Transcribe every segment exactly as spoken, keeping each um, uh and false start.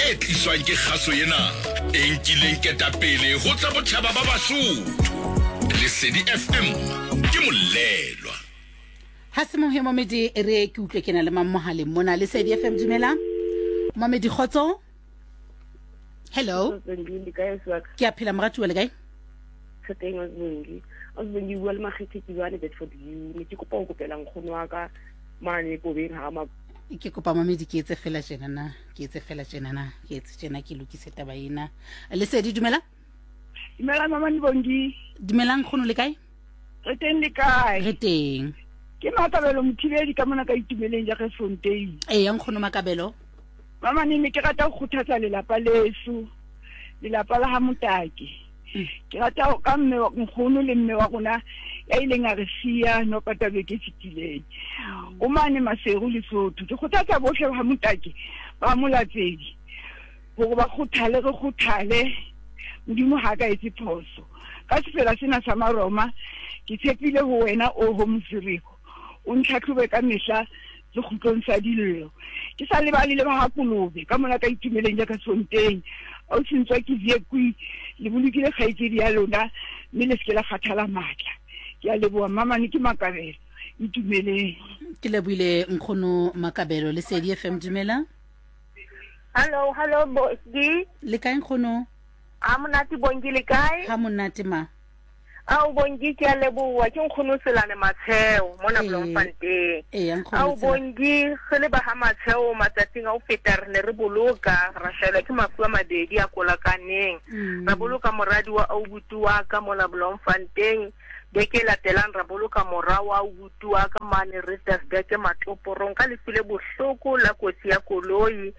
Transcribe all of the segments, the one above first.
E tliswang ke kgaso ena e nkileng ketapele ho tsa botjhaba ba Basotho. Lesedi F M ke molelwa. Ha se mohe Momedi, re ke utlwe ke na le mang mohaleng mona. Lesedi F M, dumela. Momedi, kgotso. Hello. Ke a phela moratuwa, le kae? Re teng, Osbongi. Osbongi, bua le Makgethe ke bua le Bedford View. Ne ke kopa ho kopela nkgono wa ka mane Kobeng ha ma Ke kopa Momedi ke etse fela tjena na, ke etse fela tjena na, ke etse tjena, ke lokise taba ena. Lesedi, dumela. Dumela mama Bongi. Dumelang nkgono, le kae? Re teng, le kae? Re teng. Ke Makabelo Mothibedi ka mona ka Itumeleng ja Fontein. Ee, nkgono Makabelo. Mama ne ne ke rata ho kgothatsa lelapa leso, lelapa la ha Motake. Ke rata ka mme wa nkgono le mme wa rona ya ileng a re siya no pata beke fetileng. O mane Maseru Lesotho. Ke kgothatsa bohle ba Motake ba Molatsedi hore ba kgothale, re kgothale. Modimo ha ka etse phoso. Ka sefela sena sa Maroma ke tshepile ho wena o ho Mosiriko. O ntlhatlhobe ka mehla sekgutlong sa dillo. Ke sa lebale le ba ha Kolobe ka mona ka Itumeleng ja ka Sonteng. O sentswa ke Viekwi, le bolokile kgaitsedi ya lona mme le seke la kgathala matla. Ke a leboha mama, ne ke Makabelo Itumeleng. Ke lebohile nkgono Makabelo. Lesedi F M, dumela. Hello, hello Bongi. Le kae nkgono? Ha monate Bongi, le kae? Ha monate ma. Ao Bongi, ke a leboha, ke nkgono Tselane Matsheo mona Bloemfontein. Ee, nkgono. Ao Bongi, re le ba ha Matsheo matsatsing a ho feta re ne re boloka, ra hlaelwa ke mafu a mabedi a kolakaneng. Ra boloka moradi wa aubuti wa ka mona Bloemfontein. Beke e latelang ra boloka mora wa aubuti wa ka mane Richtersburg Matloporong ka lefu le bohloko la kotsi ya koloi.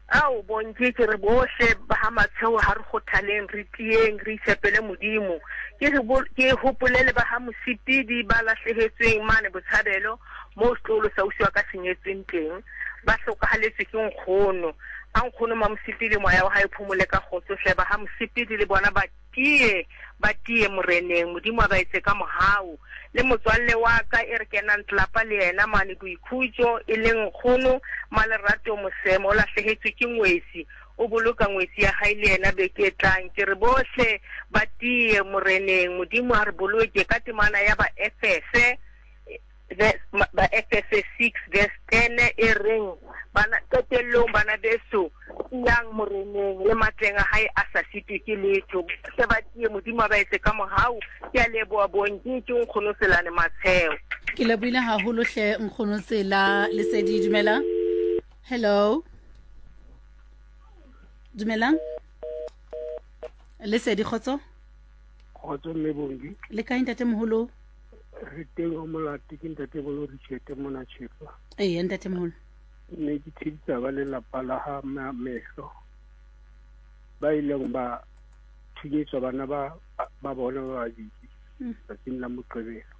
Ao Bongi, ke re bohle ba ha Matsheo ha re kgothaleng, re tieng, re itshepele Modimo. Ke ke hopole le ba ha Mosipidi ba lahlehetsweng mane Botshabelo moo setloholo sa ausi wa ka senyetsweng teng, ba hlokahaletswe ke nkgono. A nkgono Mamosipidi moya wa hae phomole ka kgotso hle. Ba ha Mosipidi le bona ba tie, ba tie moreneng, Modimo a ba etse ka mohau. Le motswalle wa ka e re kenang tlelapa le yena mane Boikhutso, e leng nkgono Malerato Mosemo, o lahlehetswe ke ngwetsi, o boloka ngwetsi ya hae le yena beke e tlang. Ke re bohle ba tie moreneng, Modimo a re boloke. Ka temana ya ba Efese, ba Efese six verse ten e reng, bana qetellong bana beso, tiyang moreneng le matleng a hae a sa sitwe ke letho. Bohle ba tie, Modimo a ba etse ka mohau. Ke a leboha Bongi, ke nkgono Tselane Matsheo. Ke lebohile haholo hle nkgono Tsela. Lesedi, dumela. Hello. Dumelang. Lesedi, kgotso. Kgotso mme Bongi. Le kae ntate moholo? Re teng ho Molate, ke ntate Bolo Richete mona Tjhepa. Ee, ntate moholo. Ne ke tshedisa ba lelapa la ha Mehlo ba ileng ba thunyetswa bana ba ba bona ba babedi tsatsing la Moqebelo,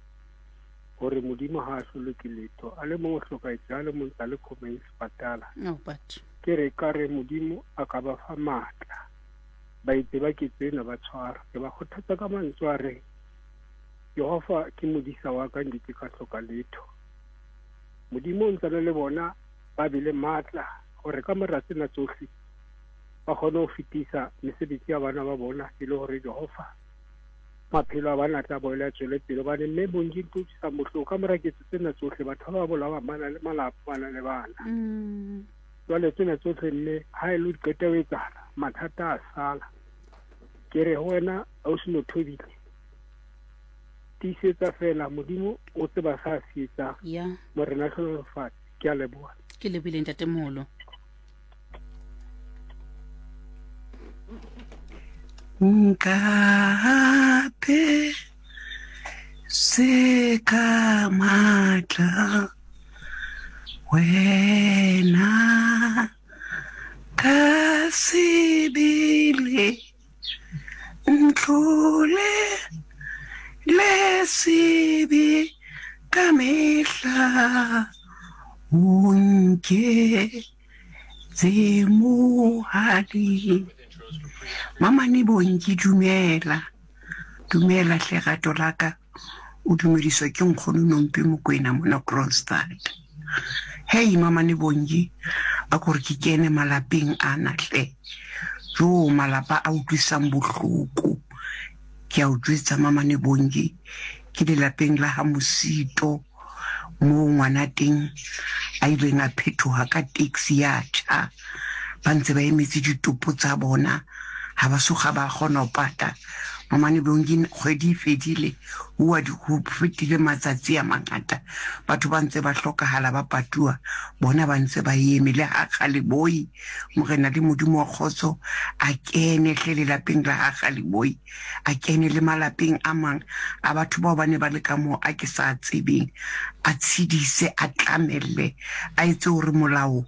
hore Modimo ha a hlolwe ke letho. A le mong o hlokahetse, a le mong tsa le khomeng sepatala. Ke re ka re Modimo a ka ba fa matla, ba itse ba ketso ena ba tshwara. Ke ba kgothatsa ka mantswe a reng, Jehova ke modisa wa ka, nke ke ka hloka letho. Modimo o ntse le bona ba be le matla hore ka mora tsena tsohle ba kgone ho fetisa mesebetsi ya bana ba bona, e le hore Jehova maphelo a bana tla boela tswele pele. Hobane mme Bongi ntho utlwisang bohloko, ka mora ketso tsena tsohle batho ba bolawa ba na le malapa, ba na le bana. Jwale tsena tsohle mme ha e le di qeta ho etsahala, mathata a sala. Ke re ho wena ausi Mothobile, tiisetsa fela, Modimo o tseba sa se etsang. Morena hlohonolofatse. Ke a leboha. Ke lebohile ntate moholo. Nkape se ka matla wena ka sebele, ntlole le sebe ka mehla, o nke tse mohadi. Mama ne Bongi, dumela. Dumela hle rato la ka. O dumediswa ke nkgono Nompi Mokwena mona Kroonstad. Hei mama ne Bongi, A ko re ke kene malapeng ana hle. Jo malapa a utlwisang bohloko. Ke a o jwetsa Mamane Bongi, ke lelapeng la ha Mosito moo ngwana teng a ileng a phethoha ka taxi ya tjha. Ba ntse ba emetse ditopo tsa bona, ha ba soga ba kgona ho pata. Mamane Bongi, kgwedi e fedile, ho ho fetile matsatsi a mangata, batho ba ntse ba hlokahala ba patuwa, bona ba ntse ba eme. Le ha Galeboi, Morena le Modimo wa kgotso a kene hle lelapeng la ha Galeboi, a kene le malapeng a mang a batho bao ba ne ba le ka moo a ke sa tsebeng, a tshedise, a tlamelle, a etse hore molao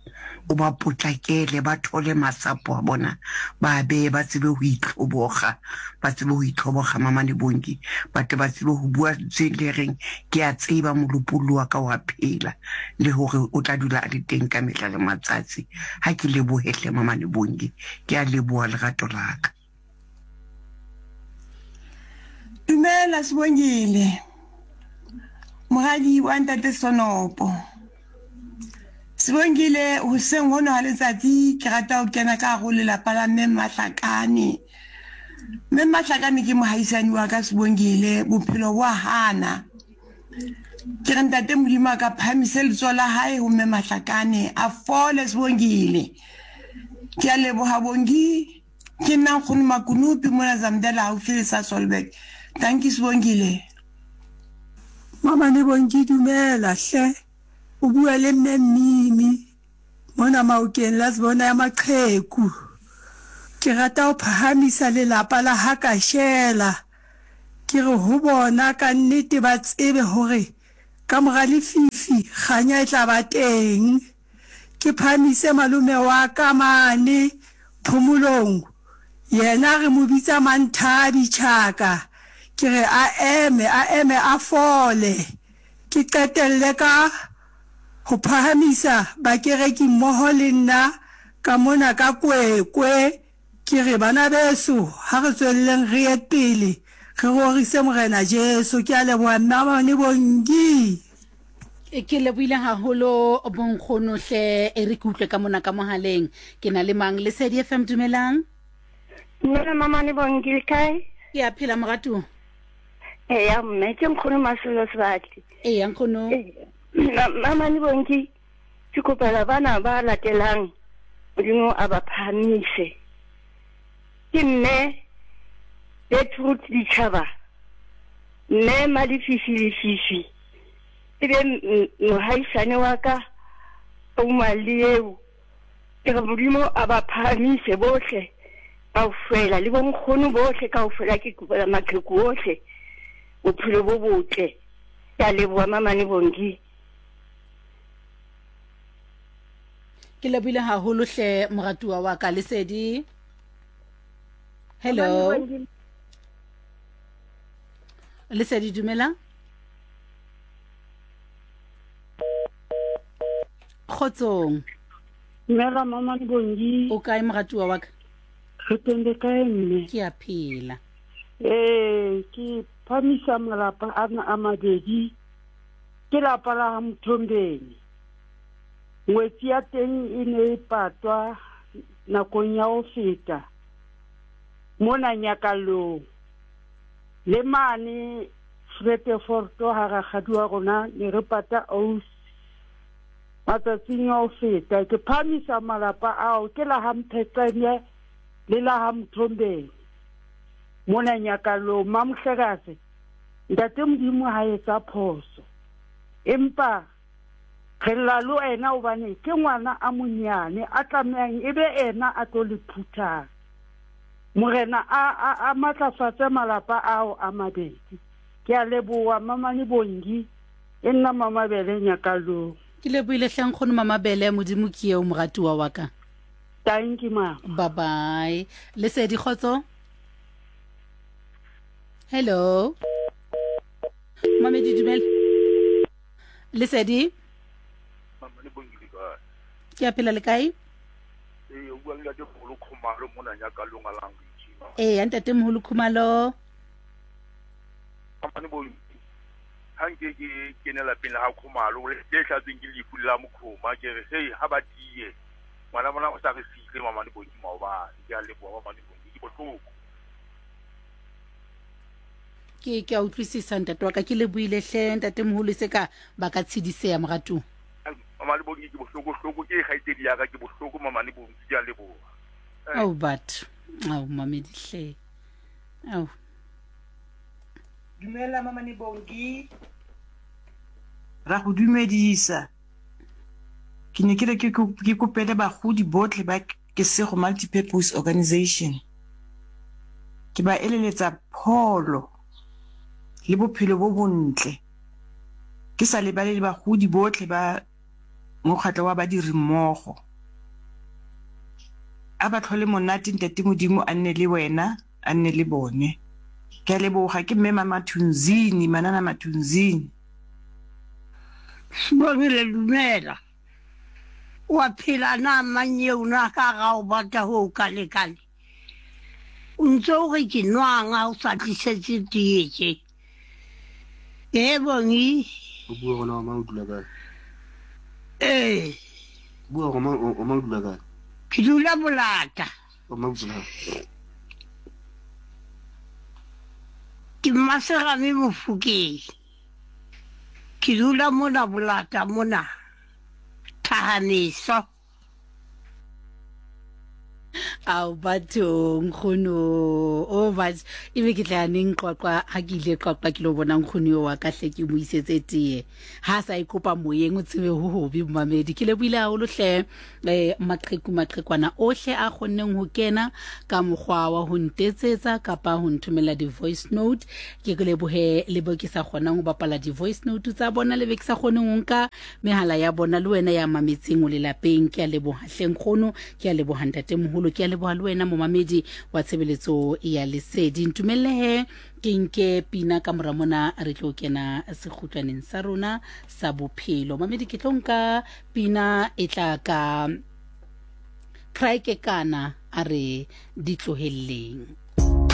o ba potlakele, ba thole masapo a bona, ba beye, ba tsebe ho itlhoboga, ba tsebe ho itlhoboga Mamane Bongi, ba tle ba tsebe ho bua tse le reng ke a tseba molopollo wa ka wa phela, le hore o tla dula a le teng ka mehla le matsatsi. Ha ke lebohe hle Mamane Bongi, ke a leboha lerato la ka. Dumela Sibongile, moradi wa ntate Sonopo. Sibongile, hoseng hono ha letsatsi ke rata ho kena ka hare ho lelapa la mme Mahlakane. Mme Mahlakane ke mohaisane wa ka Sibongile, bophelo bo a hana. Ke re ntate Modimo a ka phahamise letsoho la hae ho mme Mahlakane, a fole Sibongile. Ke a leboha Bongi, ke nna nkgono Makunupi mona Zamdela haufi le Sasolburg. Thank you Sibongile. Mamane Bongi, dumela hle. O bua le mme Mimi mona Maokeng la Sebona ya Maqheku. Ke rata ho phahamisa lelapa la ha Kashela. Ke re ho bona ka nnete ba tsebe hore ka mora lefifi kganya e tla ba teng. Ke phahamise malome wa ka mane Phomolong, yena re mo bitsa Manthabi Chaka. Ke re a eme, a eme a fole. Ke qetelle ka ho phahamisa bakereki mmoho le nna ka mona ka Kwekwe. Ke re bana beso, ha re tswelleng re ye pele, re rorise Morena Jesu. Ke a leboha Mamane Bongi. Ke lebohile haholo bonkgono hle, e re ke utlwe ka mona ka mohaleng. Ke na le mang? Lesedi F M, dumelang. Dumela Mamane Bongi, le kae? Ke a phela moratuwa. Eya mme, ke nkgono Masolo Sebatli. Eya nkgono. Mamane Bongi, ke kopela bana ba latelang Modimo a ba phahamise. Ke mme Gertrude Ditjhaba, mme Malefifi Lefifi, ebe mohaisane wa ka o eo. Ke re Modimo a ba phahamise bohle kaofela, le bonkgono bohle kaofela. Ke kopela maqheku ohle bophelo bo botle. Ke a leboha Mamane Bongi. Ke lebohile haholo hle moratuwa wa ka. Lesedi. Hello. Lesedi, dumela. Kgotsong. Dumela Mamane Bongi. O kae moratuwa wa ka? Re teng le kae mme? Ke a phela. Eh, ke phamisa malapa ana a mabedi. Ke lapa la ha Mthombeni. Ngwetsi ya teng e ne e patwa nakong ya ho feta mona Nyakalong. Le mane Vredefort ha rakgadi wa rona ne re pata ausi matsatsing a ho feta. Ke phamisa malapa ao, ke la ha Mpheqene le la ha Mthombeni mona Nyakalong. Mamohlekase, ntate Modimo ha etsa phoso, empa re lla le wena hobane ke ngwana a monyane a tlamehang ebe ena a tlo le phuthang. Morena a a a matlafatse malapa ao a mabedi. Ke a leboha Mamane Bongi, e nna Mamabele Nyakalong. Ke lebohile hle nkgono Mamabele, Modimo ke eo moratuwa wa ka. Thank you mama. Bye bye. Lesedi, kgotso. Hello. Mamedi, dumela. Lesedi. Mamane Bongi le kae? Ke a phela, le kae? Ee, o bua le ntate Moholo Khumalo mona Nyakalong a Language. Ee, ntate Moholo Khumalo. Mamane Bongi, ha nke ke kene lapeng la ha Khumalo le hlatsweng ke lefu la mokhoma, ke re hei ha ba tiye. Ngwana bona o sa re siile Mamane Bongi maobane. Ke a leboha Mamane Bongi, ke bohloko. Ke ke a utlwisisa ntate wa ka, ke lebohile hle ntate moholo, se ka ba ka tshediseha moratung. Mamane Bongi ke bohloko hloko, ke kgaitsedi ya ka, ke bohloko Mamane Bongi, ke a leboha. Ao batho, ao mamedi hle. Ao. Dumela Mamane Bongi. Ra go dumedisa. Ke ne ke re ke ke kopele bagodi botlhe ba Kesego Multipurpose Organization. Ke ba eleletsa pholo le bophelo bo bontle. Ke sa lebale le bagodi botlhe ba mokgatlo wa badiri mmogo. A ba tlhole monate ntate Modimo a nne le wena, a nne le bone. Ke a leboga, ke mme Mama Thunzini, Manana Mathunzini. Sibongile dumela. Wa phela na manyeo na ka ga o batla ho kalekale. O ntse o re ke nwang ha o sa tlisetse tee tje. E Bongi. O bua gona o mang o dula kae? Eh. Bua go mang o mang o dula kae? Ke dula Bolata. O mang o dula? Ke Mmaserame Mofokeng. Ke dula mona Bolata mona. Thahameso. Ao batho nkgono o batho ebe ke tla neng Qwaqwa ha ke ile Qwaqwa ke lo bona nkgono yo wa ka hle ke mo isetse tee ha sa ikopa moyeng o tsebe ho hobe momamedi. Ke lebohile haholo hle eh maqheku maqhekwana ohle a kgonneng ho kena ka mokgwa wa ho ntetsetsa kapa ho nthomela di-voice note. Ke lebohe le bo ke sa kgonang ho bapala di-voice note tsa bona, le be ke sa kgoneng ho nka mehala ya bona le wena ya mametseng o lelapeng. Ke a leboha hle nkgono, ke a leboha ntate moholo, ke a leboha le wena momamedi wa tshebeletso ya Lesedi. Ntumelle he ke nke pina ka mora mona re tlo kena sekgutlwaneng sa rona sa bophelo. Mamedi ke tlo nka pina e tla ka Craike kana a re di tlohelleng.